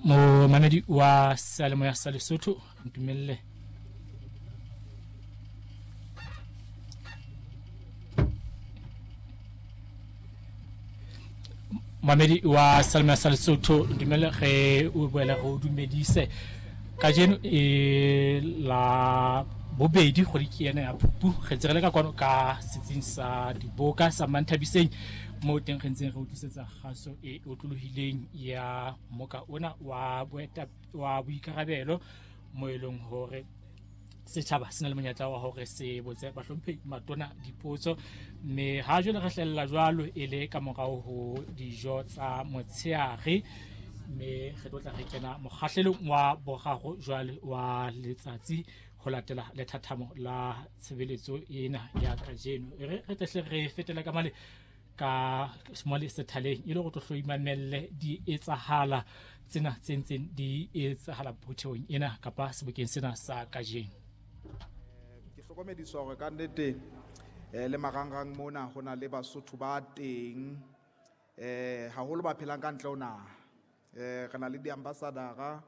Momamedi wa seyalemoya sa Lesotho, ntumelle Mamedi wa seyalemoya sa Lesotho, ntumelle re o boele re o dumedise kajeno e la bobedi kgwedi ke ena ya Phupu. Re ntse re le ka kwano ka setsing sa diboka sa Manthabiseng, moo teng re ntseng re utlwisetsa kgaso e otlolohileng ya moka ona wa wa boikarabelo, mo e leng hore setjhaba se na le monyetla wa hore se botse bahlomphehi matona dipotso. Mme ha jwale re hlella jwalo e le ka morao ho dijo tsa motsheare, mme re tlo tla re kena mokgahlelong wa boraro jwale wa letsatsi ho latela lethathamo la tshebeletso ena ya kajeno. E re re tlehle re fetele ka male ka mole sethaleng e le go tlo hloimamelle di etsahala tsena tse ntseng di etsahala phuthehong ena kapa sebokeng sena sa kajeno. Ke hlokomediswa hore ka nnete le marangrang mona ho na le Basotho ba teng, haholo ba phelang ka ntle ho naha. Re na le di-ambassadora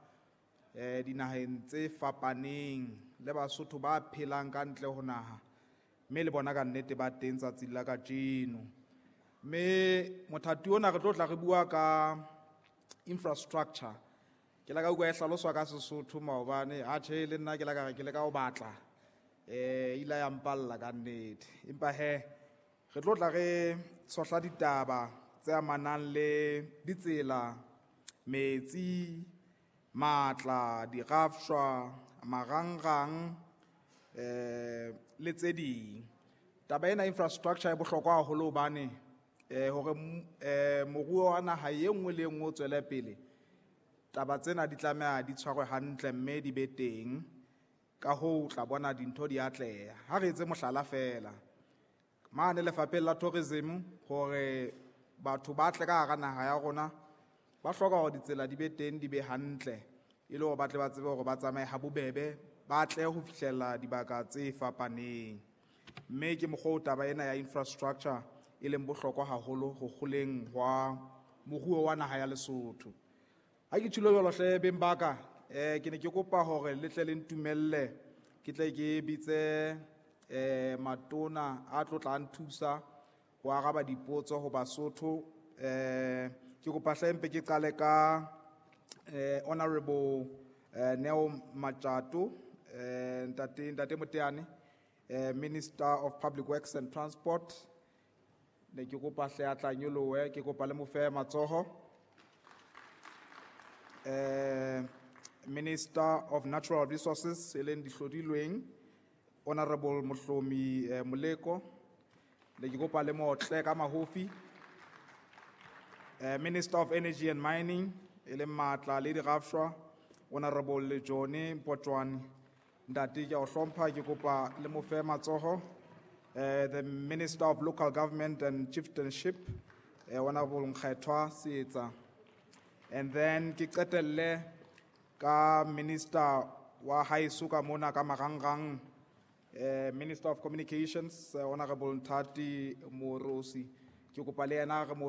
dinaheng tse fapaneng le Basotho ba phelang ka ntle ho naha, mme le bona ka nnete ba teng tsatsing la kajeno. Mme mothati ona re tlo tla re bua ka infrastructure. Ke la ka utlwa e hlaloswa ka Sesotho maobane, atjhe le nna ke la ka re ke leka ho batla, ile ya mpalla ka nnete. Empa he re tlo tla re tshohla ditaba tse amanang le ditsela, metsi, matla, dirafshwa, marangrang, le tse ding. Taba ena infrastructure e bohlokwa haholo hobane hore moruo wa naha e nngwe le e nngwe o tswele pele, taba tsena di tlameha di tshwarwe hantle mme di be teng. Ka hoo o tla bona dintho di atleha. Ha re etse mohlala feela mane lefapheng la tourism, hore batho ba tle ka hara naha ya rona, ba hloka hore ditsela di be teng, di be hantle, e le hore ba tle ba tsebe hore ba tsamaye ha bobebe, ba tle ho fihlella dibaka tse fapaneng. Mme ke mokgwa o taba ena ya infrastructure e leng bohlokwa haholo ho kgoleng hwa moruo wa naha ya Lesotho. Ha ke tjhilo jwalo hle beng ba ka, ke ne ke kopa hore le tle le ntumelle ke tle ke bitse matona a tlo tla nthusa ho araba dipotso ho Basotho. Ke kopa hle mpe ke qale ka Honorable Neo Machato, ntate Moteane, Minister of Public Works and Transport. Ne ke kopa hle a tla nyolohe, ke kopa le mo fe matsoho. Minister of Natural Resources e leng dihlodilweng, Honorable Mohlomi Moleko, ne ke kopa le motle ka mahofi. Minister of Energy and Mining e leng matla le dirafshwa, Honorable Lejone Mpotjoane. Ntate ke a o hlompha, ke kopa le mo fe matsoho. The Minister of Local Government and Chieftainship, Honorable Nkgethwa Seetsa. And then ke qetelle ka Minister wa haeso ka mona ka marangrang, Minister of Communications, Honorable Nthati Moorosi. Ke kopa le yena re mo